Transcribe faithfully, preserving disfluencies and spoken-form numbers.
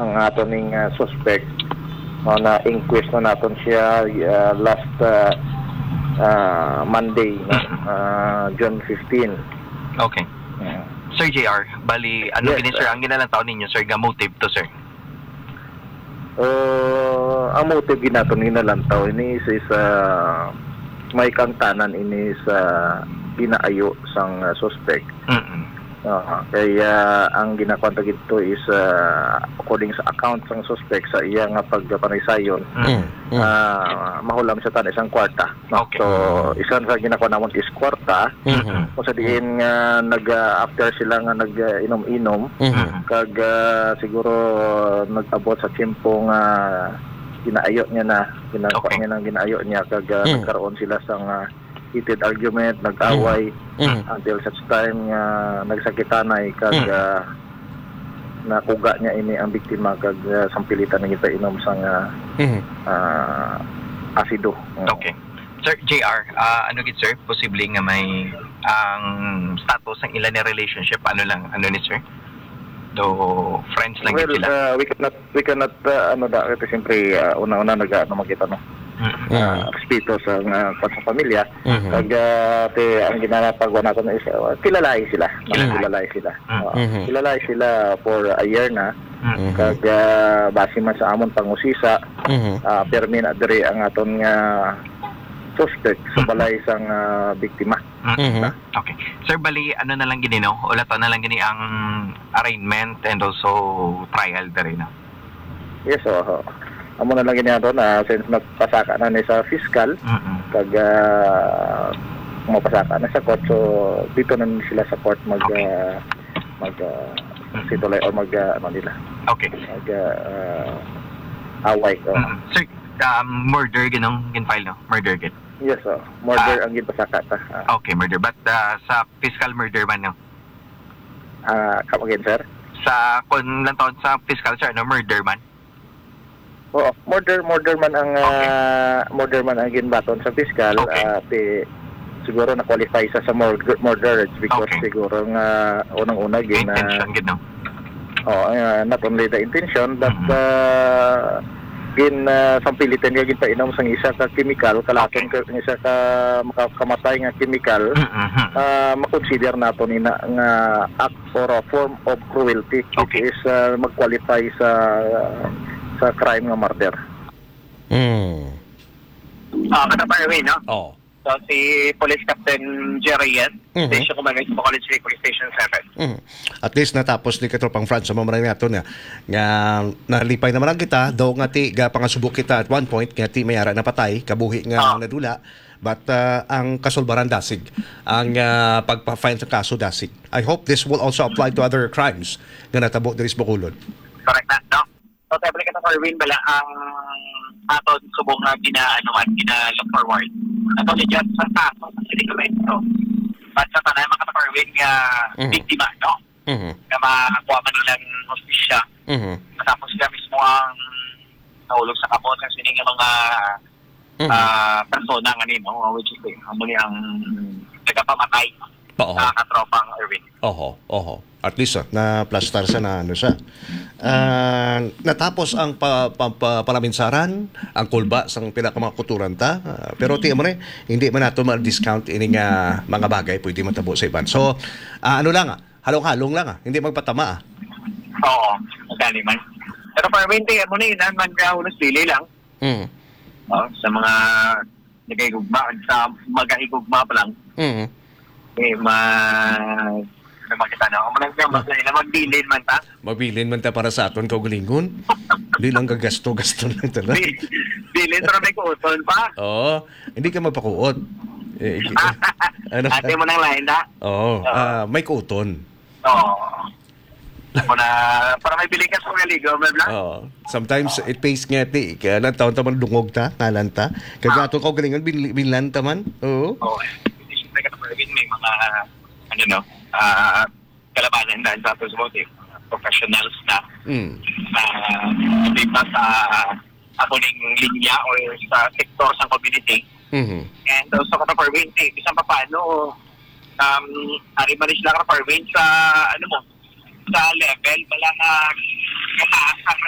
Ang ato ning, ah, suspect, no, na-inquest na naton siya, ah, last, ah, ah, Monday, no, ah, June fifteen. Okay. Mm. Sir J R, bali, ano Yes, gini, sir, sir. ang ginalantaw ninyo, sir, nga motive to, sir? Uh, ang motive ginaton ginalantaw ini is, is, ah, may kaangtanan ini sa ginaayo sang, ah, suspect. Mm-mm. Ah, kaya ang ginakuan ta gidto is, ah, according sa account sang suspect sa iya nga pagpanaysayon, Mm. Mm, mm. ah, mahulam siya tan isang kwarta. No? Okay. So, isa sa ginakuha namon is kwarta. Mhm. Kung sa diin nga nag, ah, after sila nga nag, ah, inom-inom, Mhm. kag, ah, siguro, ah, nag-abot sa tiyempo nga ginaayo niya na, ginakuha Okay. niya na, ginaayo niya, kag, ah, Mhm. nagkaroon sila sa nga heated argument, nag-away, Mhm. Mhm. until such time nga nagsakitanay, kag, Mhm. ah, nakuga niya ini ang biktima, kag, ah, sampilitan na gipainom sang, ah, Mhm. ah, asido. Mm. Okay. Sir J R, ah, ano gid, sir? Posible nga may ang status ng ila ni relationship, ano lang, ano ni, sir? Do friends lang gid Well, sila? uh, we cannot, we cannot, uh, ano da, kasi siyempre, uh, una-una nag-, ano, magkita, no? Mm. Uh, respeto sa, uh, sa pamilya. Mhm. Kag, uh, te, ang ginapagawa nato na is, uh, kilalahi sila. Kilalahi. Kilalahi sila. Mm. Uh, Mhm. kilalahi sila for a year na. Mm. Mhm. Kag, uh, base man sa amon pangusisa, Mhm. uh, permi na diri ang aton nga suspect sa Mhm. balay sang, uh, biktima. Mm. Mhm. Okay. Sir, bali, ano na lang gini, no? Ulaton na lang gini ang arraignment and also trial diri, no? Yes, oho. Amo na lang gini ato na since nagpasaka na ni sa fiscal, Mm-mm. kag, ah, mapasaka na sa court, so dito na sila sa court mag, Okay. ah, mag, ah, Mm. situlay or mag, ah, ano nila, Okay. mag, ah, away. Oo. Mm. Sir, um, murder ginong gin-file, no? Murder gid. Yes, oh. Murder Ah. ang ginpasaka ta. Ah. Okay, murder. But, ah, sa fiscal murder man, no? Ah, come again, sir? Sa, kung lang taon sa fiscal, sir, ano, murder man? Oo, murder, murder man ang, Okay. ah, murder man ang ginbaton sa fiscal. Okay. Ah, ti-, siguro na-qualify sa, sa murder, murder because Okay. siguro nga unang-una May gin, ah, intention gid, no? Oo, ah, not only the intention, but, Mm-hmm. ah, gin, ah, sampilitan nga ginpainom sang isa ka chemical, kalason Okay. ka, isa ka makakamatay nga chemical, Mm-hmm. ah, makonsider nato nina nga act or a form of cruelty, which Okay. is, ah, mag-qualify sa, sa crime nga murder. Mm. Ah, Madam Irene, no? Oh. So, si Police Captain Jerry Reyes, Mhm. Station Commander sa College Lake Police Station seven. Mhm. At least natapos ni Katropang Franz, sa mga nato niya, nga nalipay naman lang kita, daw nga ti, ga pangasubok kita at one point, nga ti may ara napatay, kabuhi nga Ah. nadula, but, ah, ang kasulbaran dasig, ang, ah, pagpa-file sa kaso dasig. I hope this will also apply to other crimes nga natabo diri sa Bacolod. Correct na, no? So, Tepli ka sa Corwin, bala ang aton subong nga gina-, ano man, gina-look forward. Ato ni Judge sa kaso sa Sinigamento. But sa tanan, mga ka-Corwin, nga Mhm. biktima, no? Mhm. Nga makakuha man nilang hustisya. Mhm. Matapos sila mismo ang nahulog sa kamot sa sini nga mga, Mhm. ah, persona nga ni, no? Which is, eh, amo ni ang nagapamatay Oo. sa katropang Erwin. Oho, oho. At least, ah, naplastar siya na ano siya. Ah, natapos ang pa-, pa-, pa-, palaminsaran, ang kulba sang pila ka mga kuturan ta. Ah, pero ti mo ni, hindi man nato ma-discount ini nga mga bagay pwede matabo sa iban. So, ah, ano lang, ah, halong-halong lang, ah, hindi magpatama, ah. Oo, madali man. Pero permente, amo ni, nan man ka unos dili lang. Mm. Oh, sa mga nagahigugma, sa magahigugma pa lang. Mm. Eh, ma-, ano man kita, no? Amo lang siya, mas na magbilin man ta. Magbilin man ta para sa aton kaugalingon. Di lang gagasto-gasto lang ta lang. Di-, bilin, pero may kuuton pa. Oo. Hindi ka magpakuot. Eh, ano ka? Ate mo nang lain na. Oo. Oo. Ah, may kuuton. Oo. Muna, para may bilin ka sa mga ligo, bla, bla. Oo. Sometimes, Oo. it pays nga, ti, kaya lang taon ta man dungog ta, ngalan ta. Kaya Ah. ato kaugalingon, bil-, bilan ta man. Oo. Oo. Siyempre, ka may mga, ano, no, ah, kalabanan na sa ato sa mga professionals na, Mm. ah, di ba sa ako ning linya o sa sektor sa community. Mhm. And also, ka Parwin, eh, bisan pa paano, um, ari man sila, ka Parwin, sa, ano mo, sa level, wala nga mataas ang